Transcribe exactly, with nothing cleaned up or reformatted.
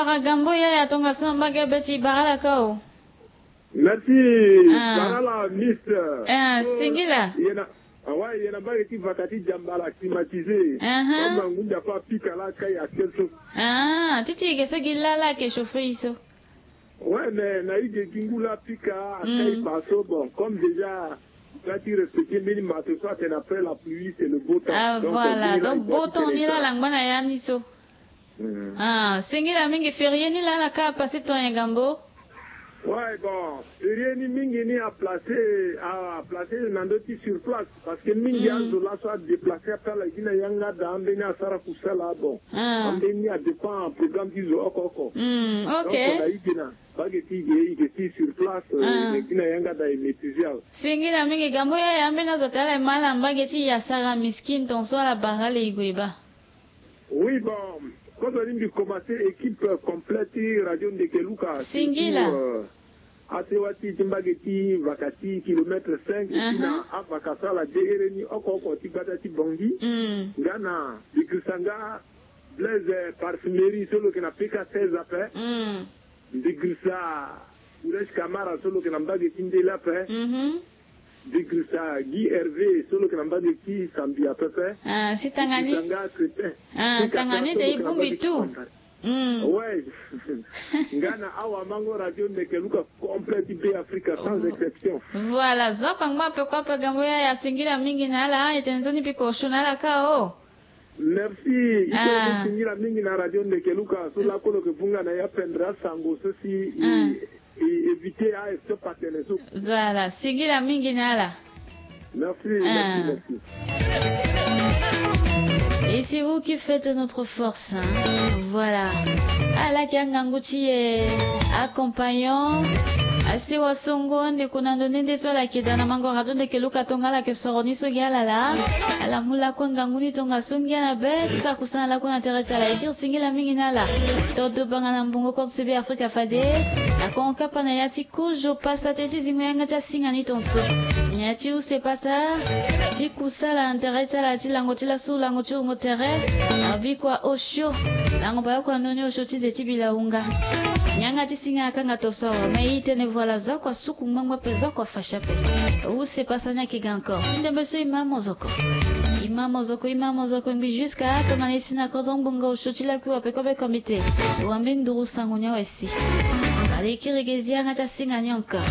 Ara gambo yaya tongaso na mbage be ti bara ala ka o. Merci. Ah. Bara ala miss. Ah, singila. Yena, awa, yena mbage ti vaka ti diamba la climatisé. Aha. Comme ngunza pa pika la kai actuel so. Ah, ti ti yeke so gi la la ayeke chauffer ye so. Ouais, mais na i ge gi ngu la pika akai pa so, bon, comme déjà nga ti respecter mbeni mato so atene après la pluie c'est le beau temps. Ah, donc, voilà. Donc beau temps ni la ala ngba na ya ni so. Ah, singila mingi. Férié ni la ala ka apasser ton ya gambo. Ouais, bon, férié ni mingi ni aplacer, aplacer na ndö ti sur place. Parce que mingi azo laso adéplacer ape ala gi na yanga da ambeni asara kusala, bon. Ambeni adépend programme ti zo oko oko. Donc na i gi na mbage ti i ge, i ge ti sur place, i ge gi na yanga da e maîtriser awe. Singila mingi gambo yaya, ambeni azo atene ala e ma ala mbage ti i asara miskin ton so ala bara ala e gue baa. Oui, bon, kozo ni mbi commencer équipe complète ti Radio Ndeke Luka. Singila. Surtout, euh, asewa ti ti mbage ti vaka ti kilomètre cinq, et puis na avaka so ala de here ni oko oko ti gbata ti Bangui. Nga na Bikrisanga Blaise, euh, Parfumerie so lo yeke na P K seize ape. Mbi girisa Kuresh Kamara so lo yeke na mbage ti Ndele ape. Mbi girisa Guy Hervé so lo yeke na mbage ti Sambia pepe. Ah, si tanga ni. Mbi girisa nga Crétin. Ah, tanga ni de i bongbi tout. Ouais. Nga na awamango Radio Ndeke Luka complet ti Be Afrika sans exception. Voilà, zo oko angba ape kue ape gambo yaya, singila mingi na ala, e tene nzoni mbi ko osio na ala ka o. Merci. I so singila mingi na Radio Ndeke Luka so lakolo ke vunga na ya pendre asango so si i, i éviter a stop atene so. Zala, singila mingi na ala. Merci, merci, merci. Et c'est vous qui faites notre force, hein. Voilà. Ala yeke angangu ti e accompagnant. Asewa so ngu ande kuna ndo nde nde so ala yeke daa na mango Radio Ndeke Luka tonga ala yeke soro ni so gi ala laa. Ala mu lakue ngangu ni tongaso ngia na be ti sara kusana lakue na tere ti ala. E kiri singila mingi na ala. Todo banga na mbongo kort C B Afrika fade. Akongo kapa na ya ti kozo pasa tënë ti zingo yanga ti asinga ni tongaso. Ngia ti use pasa ti kusala na tere ti ala ti lango ti lasu lango ti wungo tere. Abikua osio. Lango bayokua ndoni osio ti ze ti bila wunga. Yanga ti singa akanga tongaso awe. Me i tene voilà zo oko asuku ngbangba ape, zo oko afasha ape. Use pasa ni ayeke ga encore. Ti ndembe so i ma mozoko. I ma mozoko, i ma mozoko ngbi jusqu'à tongana e si na kodro ngbonga osio ti lakui wape kobe kombite. Wambe nduru sango ni awe si. Allez, kiri ge zi yanga ti asinga ni encore.